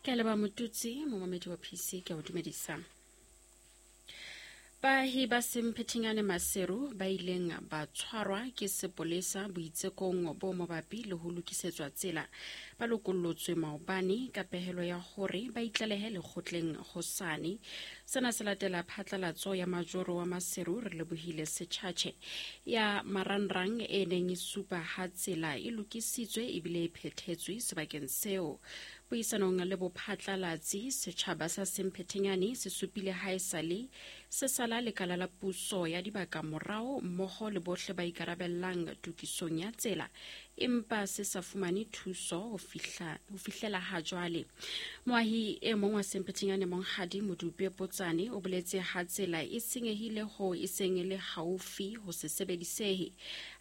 Ke a leba Motutsi, momamedi wa PC, ke a o dumedisa. Baahi ba Semphethinyane Maseru ba ileng ba tshwarwa ke sepolesa boitsekong bo mabapi le ho lokisetswa tsela ba lokollotswe maobane ka pehelo ya hore ba itlalehe lekgotleng hosane. Sena se latela phatlalatso ya majoro wa Maseru re lebohile Sechache ya marangrang e neng e supa ha tsela e lokisitswe ebile e phethetswe sebakeng seo. Puisanong le bophatlalatsi, setjhaba sa Semphethenyane se supile ha esale se sala lekala la puso ya dibaka morao mmoho le bohle ba ikarabellang tokisong ya tsela, empa se sa fumane thuso ho fihlela ha jwale. Moahi e mong wa Semphethenyane Monghadi Modupe Potsane o boletse ha tsela e senyehile hoo e seng e le haufi ho se sebedisehe.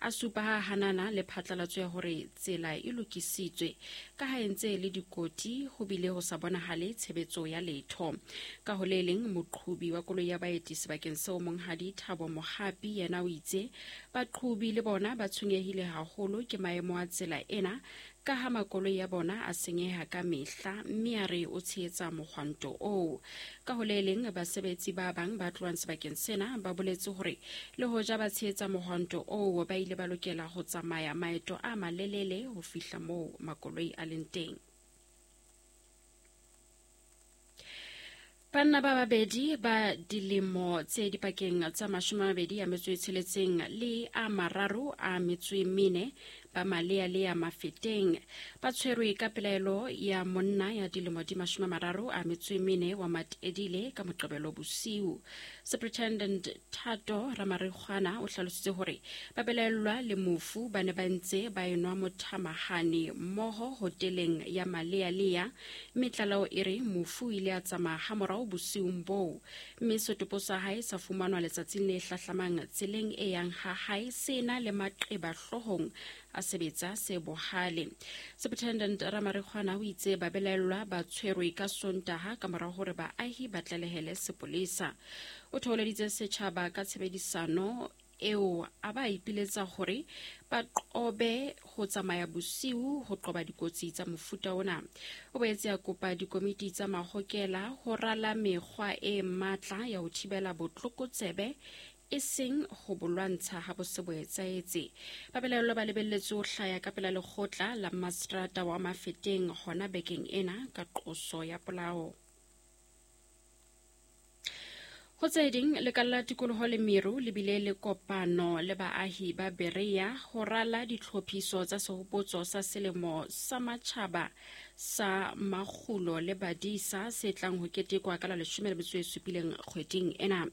A supa ha hanana le phatlalatso ya hore tsela e lokisitswe ka ha e ntse e le dikoti ho bile ho sa bonahale tshebetso ya letho. Ka ho le leng, moqhobi wa koloi ya baeti sebakeng seo Monghadi Thabo Mohapi yena o itse baqhobi le bona ba tshwenyehile haholo ke maemo a tsela ena ka ha makoloi a bona a senyeha ka mehla, mme a re o tshehetsa mohwanto oo. Ka ho le leng, basebetsi ba bang ba tlohang sebakeng sena ba boletse hore le hoja ba tshehetsa mohwanto oo, ba ile ba lokela ho tsamaya maeto a malelele ho fihla moo makoloi a leng teng. Banna ba babedi ba dilemo tse dipakeng tsa 26 le a 34 ba malealea Mafeteng ba tshwerwe ka pelaelo ya monna ya dilemo di 34 wa Matedile ka Moqebelo bosiu. Superintendent Thato Ramarikgwana o hlalositse hore ba belaellwa le mofu ba ne ba ntse ba enwa mothamahane mmoho hoteleng ya Malealea, mme tlaleho e re mofu o ile a tsamaya hamorao bosiung boo, mme setopo sa hae sa fumanwa letsatsing le hlahlamang tseleng e yang ha hae se na le maqeba hloohong a sebetsa se bohale. Superintendent Ramarikgwana o itse babelaellwa ba tshwerwe ka Sontaha ka mora hore baahi ba tlalehele sepolesa. O thoholeditse setjhaba ka tshebedisano eo a ba ipiletsa hore ba qobe ho tsamaya bosiu ho qoba dikotsi tsa mofuta ona. O boetse a kopa dikomiti tsa mahokela ho rala mekgwa e matla ya ho thibela botlokotsebe e seng ho bo lwantsha ha bo se bo etsahetse. Babelaellwa ba lebelletswe ho hlaya ka pela lekgotla la mastrata wa Mafeteng hona bekeng ena ka qoso ya polao. Ho tse ding, lekala la tikoloho le meru le bile le kopano le baahi ba Berea ho rala ditlhophiso tsa sehopotso sa selemo sa matjhaba sa makgulo le badisa se tlang ho ketekwa ka la 17 kgweding ena.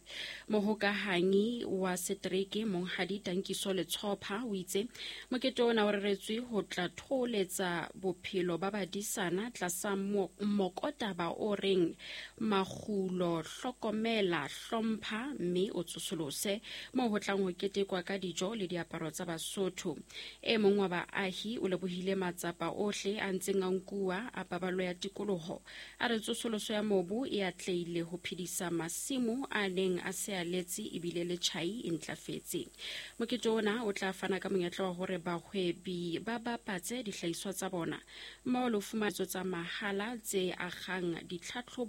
Mohokahanyi wa setereke Monghadi Tankiso Letshopha o itse mokete ona o reretswe ho tla thoholetsa bophelo ba badisana tlasa mokotaba o reng Makgulo, hlokomela, hlompha mme o tsosolose, moo ho tlang ho ketekwa ka dijo le diaparo tsa Basotho. E mong wa baahi o lebohile matsapa ohle a ntseng a nkuwa a paballo ya tikoloho. A re tsosoloso ya mobu e atlehile ho phedisa masimo a neng a se a letse ebile le tjhai e ntlafetse. Mokete ona o tla fana ka monyetla wa hore bahwebi ba bapatse dihlahiswa tsa bona mmoho le ho fumana tsa mahala tse akgang ditlhatlhobo.